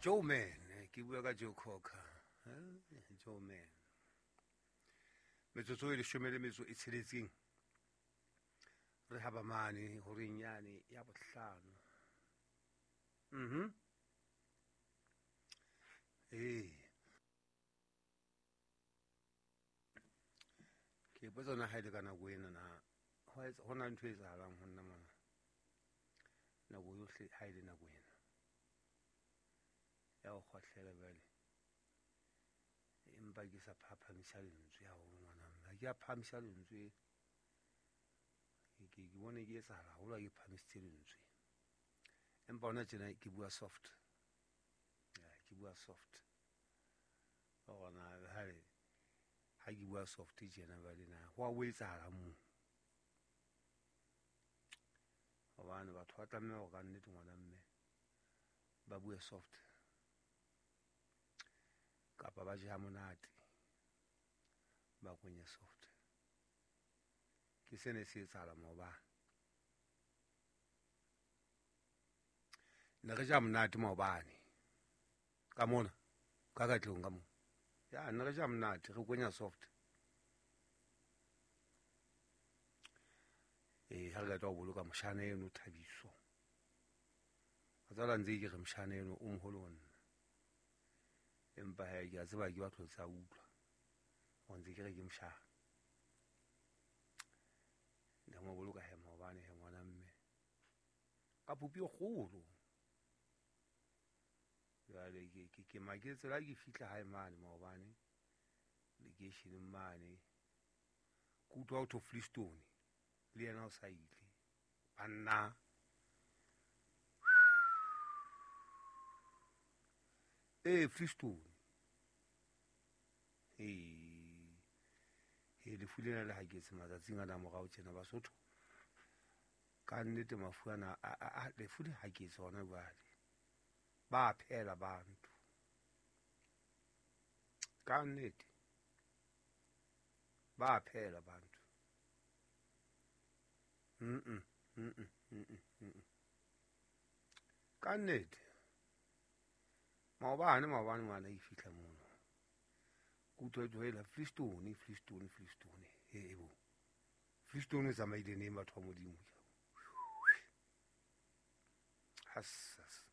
Joe Man, ke bua ka Joe Cocker. Joe Man. Metsotso e leshome le metso e tsheletseng. Re haba mane horeng yane ya bohlano. Ee. Ke ipotsa na ha e le ka nako ena na ho na ntho e etsahalang ho nna mona. Nako yohle ha e le nako ena. Ya ho kgohlela jwale. Empa ke sa phaphamisa lentswe haholo ngwana mme. Ha ke a phahamisa lentswe. Ke bone ke etsahala haholo ha ke phahamisitse lentswe. Empa hona tjena ke bua soft. Ya, ke bua soft. Hona ha ke bua soft tjena jwale na ho a o etsahala moo. Hobane batho ba tlameha hore ka nnete ngwana mme ba bue soft kapa ba je ha monate ba kwenye soft. Ke sene se etsahala maobane. Ne re ja monate maobane ka mona ka katlehong ka mona. Ya ne re ja monate re kwenya soft. Ha re qeta ho boloka moshana eno Thabiso. A tsala ntse ke re moshana eno o moholo ho nna. Empa he ke a tseba ke batho tsa utlwa. O ntse ke re ke moshana. Ne mo boloka he maobane he ngwana mme. Ka popi e kgolo. Jwale ke maketse la ke fihla hae mane maobane lekeisheneng mane. Ke utlwa ho thwe Flistone le yena o sa ile. Banna. Flistone. Lefu lena le haketse matsatsing ana morao tjena Basotho. Ka nnete mafu ana a lefu le haketse hona jwale. Ba phela bantu. Ka nnete. Ba phela bantu. Ka nnete. Maobane ngwana e fihla mono. Ke utlwa e tlohela Flistone. Bo. Flistone o tsamaile neng batho ba Modimo? Hassas.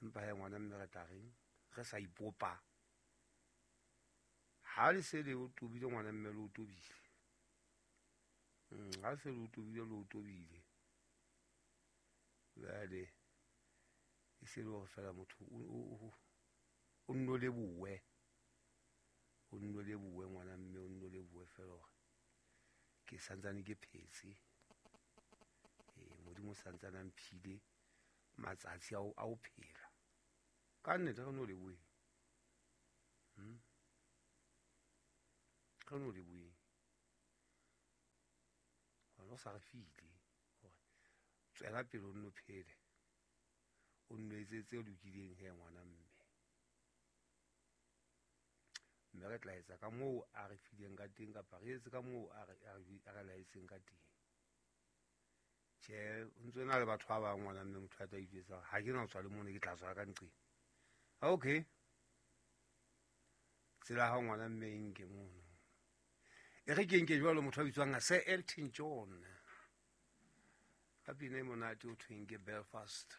Empa he ngwana mme re tla reng? Re sa ipopa. Ha le se le o tobile ngwana mme le o tobile. Ha se le o tobile le o tobile. Jwale e se le hore fela motho o nno lebohe. O nno lebohe ngwana mme o nno lebohe fela hore ke santsane ke phetse. Modimo santsane a mphile matsatsi a o phela. Ka nnete re no lebohe. Re no lebohe. Hona o sa re file hore tswela pele o nno phele. O nno etse tse lokileng he ngwana mme. Mme re tla etsa ka moo a re fileng ka teng kapa re etse ka moo a re laetseng ka teng. Tjhe, o ntso na le batho ba bang ngwana mme motho a tla itjwetsa ha ke na ho tswa le mona ke tla tswa ka nqeng. Okay. Tsela ha ngwana mme e nke mono. E re ke nke jwalo motho a bitswang Sir Elton John. Ka pina e monate o thweng ke Belfast.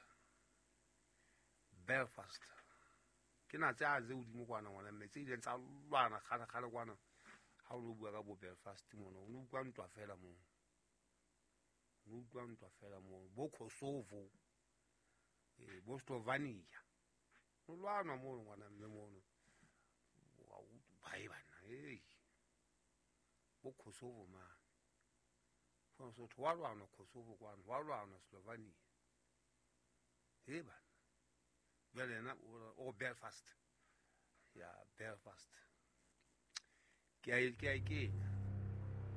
Belfast. Ke na tse a tse hodimo kwana ngwana mme tse ileng tsa lwana kgale kwana. Ha o no bua ka bo Belfast mono, o no utlwa ntwa fela moo. O utlwa ntwa fela moo. Bo Kosovo, bo Slovenia. No lwanwa mono ngwana mme mono. Wa utlwa ba bana, Bo Kosovo mane. Sotho wa lwanwa Kosovo kwana, wa lwanwa Slovenia. Bana. Jwale yena o Belfast. Ya Belfast. Ke a e kenya.